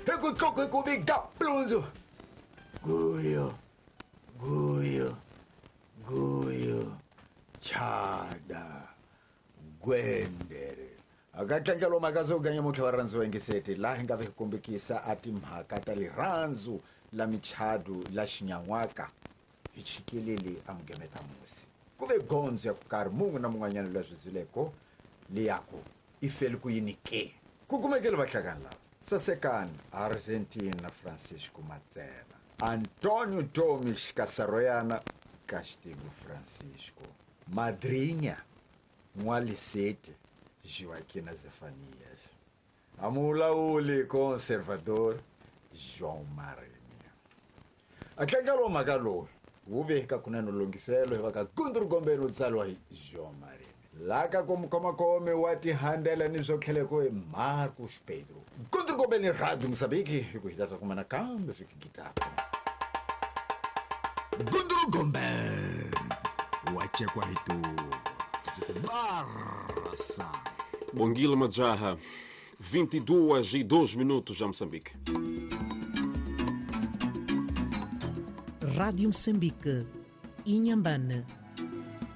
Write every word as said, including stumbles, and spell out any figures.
Hi ku tluku hi ku viga plunzu. Guyo, guyo, guyo, chada, gwendere. Akatlangelo makazo ganya muthu wa rhandzu wengiseti laha hi nga vi kombekisa a timhaka ta lirhandzu la michadu la xinyan'waka hi chikelele a mugemeta musi ku ve gondzo ya ku karhi mun'we na mun'wanyana loyi a swi zwileko leyaku i feli ku yini ke ku kumekele vahlakani lava Sasekani Argentina Francisco Matsena Antonio Tomis Casaroyana Castigo Francisco Madrinha N'waliseti Joaquina Zefanias Amulauli Conservador João Marinho Atlangalo mhaka lowu wu veka kunene lunghiselo hi va ka Gundru Gombeni wu tsariwa hi João Marinho laka ku mukhomakhome wa tihandela ni swo tlheleko hi Marcos Pedro Gundru Gombeni Radio Moçambique hi ku hi ta kumana kambe fiki gitako Gundru Gombeni wa chekwa hi tu Barça. Bongile Majaha, vinte e duas e dois minutos a Moçambique. Rádio Moçambique, Inhambane.